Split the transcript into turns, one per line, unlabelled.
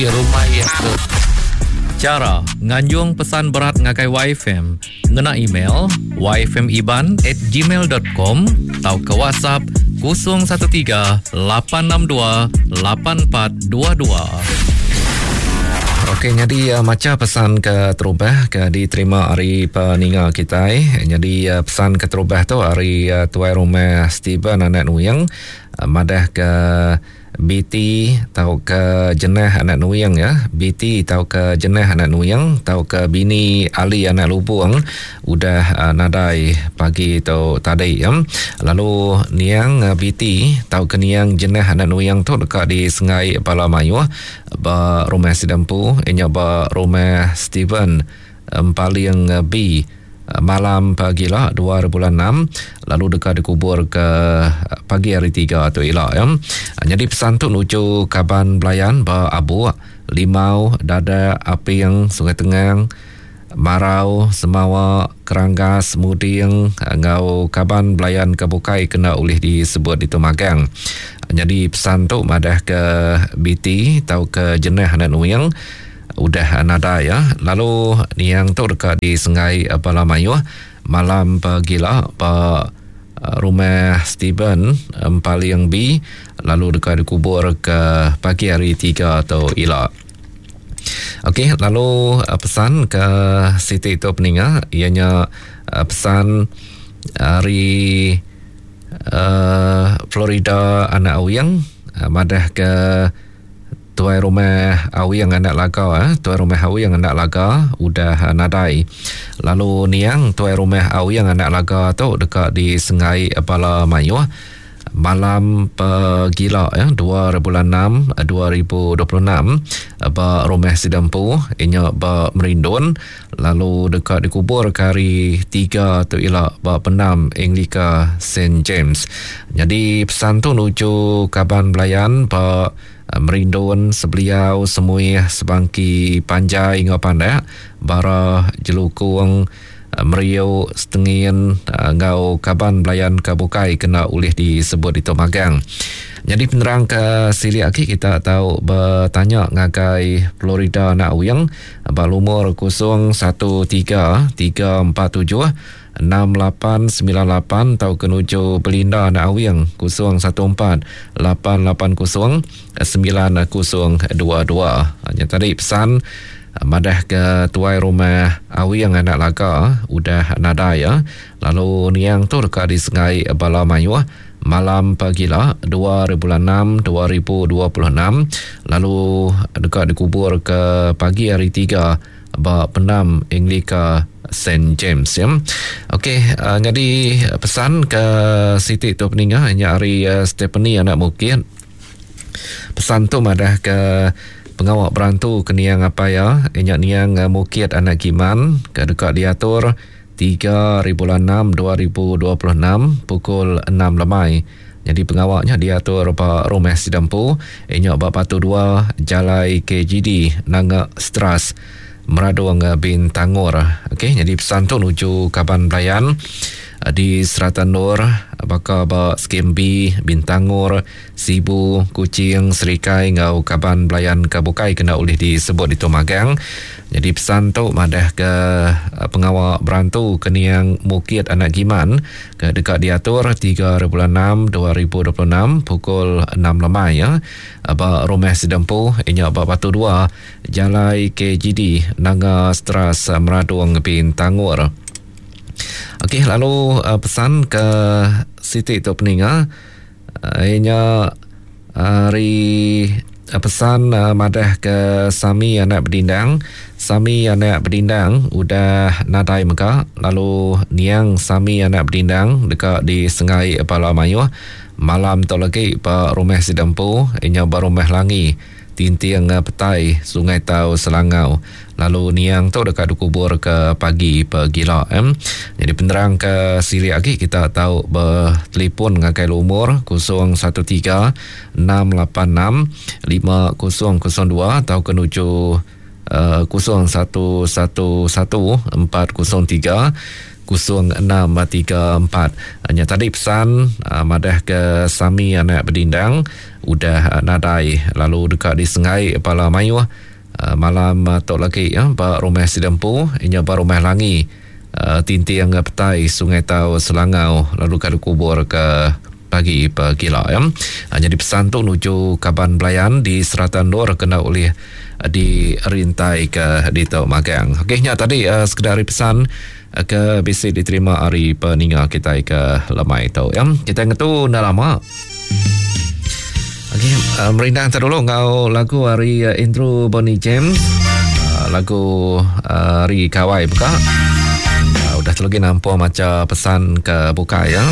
Rumah iya ke. Chara nganjung pesan berat ngagai YFM ngena email yfmiban at gmail dot com tauka WhatsApp 013 862 8422.
Okey nyadi uh, macha pesan ke terubah ke diterima ari peninga kitai. Nyadi uh, pesan ke terubah tu ari uh, tuai rumah Steven anak Nuing uh, madah ke BT tauka Jenah anak Nuing ya. BT tauka Jenah anak Nuing tauka bini Ali anak Lubung udah uh, nadai pagi tu tadi ya. Lalu niang uh, BT tauka niang Jenah anak Nuing tu deka disengai bala mayuh ba rumah sida empu inya ba rumah Steven Empaling B malam pagila dua hari bulan enam lalu deka dikubur ke pagi hari tiga tu ila ya. Nyadi pesan tu nuju kaban belayan ba Abuk, Limau, Dadak, Aping, Sungai Tengang, Marau, Semawa, Keranggas, Muding enggau kaban belayan ke bukai kena ulih disebut ditu magang. Nyadi pesan tu madah ke BT tauka Jenah anak Nuing Udah nadai ya. Lalu niang tu deka disenggai bala mayuh malam pagila ba rumah Steven Empaling B lalu deka dikubur ke pagi hari tiga tu ila. Okey, lalu pesan ke siti tu peninga iya nya pesan ari uh, Florida anak Awing madah ke Tuai Rumah Awing anak Laga Tuai Rumah Awing anak Laga udah nadai. Lalu niang Tuai Rumah Awing anak Laga tu deka disengai bala mayuh malam pegila ya 2006 2026 ba rumah sida empu inya ba Merindun lalu deka dikubur ke hari tiga tu ila ba pendam Anglika Saint James. Nyadi pesan tu nuju kaban belayan ba Merindun, Sebeliau, Semuih, Sebangki, Panjai enggau Pandak, Bara, Jelukung, Meriu, Setengin enggau kaban belayan ke bukai kena ulih disebut ditu magang. Nyadi penerang ke silik agi kita tau betanya ngagai Florida Anak Wing ba lumur 0133 47 6898 tauka nuju Belinda anak Awing 014 880 9022. Nya tadi pesan madah ke tuai rumah Awing anak Laga udah nadai ya. Lalu niang tu deka disengai bala mayuh malam pagila 2006 2026 lalu deka dikubur ke pagi hari tiga ba pendam Anglika Saint James ya. Okey, uh, nyadi pesan ke siti tu peninga nya ari uh, Stephanie anak Mukit. Pesan tu madah ke pengawa berantu ke niang apai iya nya niang uh, Mukit anak Giman ke deka diatur 3 hari bulan 6 2026 pukul 6 lemai. Nyadi pengawa nya diatur ba Rumah Sida Empu, inya ba Batu Dua, Jalai KGD, Nanga Stras, Meradong Bintangor. Okey, nyadi pesan tu nuju kaban belayan di serata endur baka ba Skim B, Bintangor, Sibu, Kuching, Serikai enggau kaban belayan ke bukai kena ulih disebut ditu magang. Nyadi pesan tu madah ke pengawa berantu ke niang Mukit Anak Giman ke deka diatur tiga hari bulan enam 2026 pukul enam lemai ya ba Rumah Sida Empu inya ba Batu Dua Jalai KGD Nanga Stras Meradong Bintangor. Okey lalu uh, pesan ke siti tu peninga uh, inya ari pesan madah ke Sami anak Bedindang. Sami anak Bedindang udah nadai mega lalu niang Sami anak Bedindang deka disengai bala mayuh malam tu lagi ba rumah sida empu inya ba Rumah Langi Tinting Petai Sungai Tau Selangau lalu niang tu deka dikubur ke pagi pegila. Nyadi penerang ke silik agi kita tau betelipon ngagai lumur 013 686 5002 tauka nuju 0111 403. 0634. Nya tadi pesan madah ke Sami anak Bedindang udah nadai lalu deka disengai bala mayuh malam tu lagi ba rumah sida empu inya ba Rumah Langi Tinting Petai Sungai Tau Selangau lalu ka dikubur ke pagi pegila. Nyadi pesan tu nuju kaban belayan di serata endur kena ulih dirintai ke ditu magang. Okey nya tadi sekeda ari pesan ke bisi diterima ari peninga kitai ke lemai tu. Ya. Kita ngetu enda lama. Okey, merindang tak dulu enggau lagu ari Andrew Bonnie James. Lagu ari Kawai buka. Udah tu lagi nampung maca pesan ke bukai ya.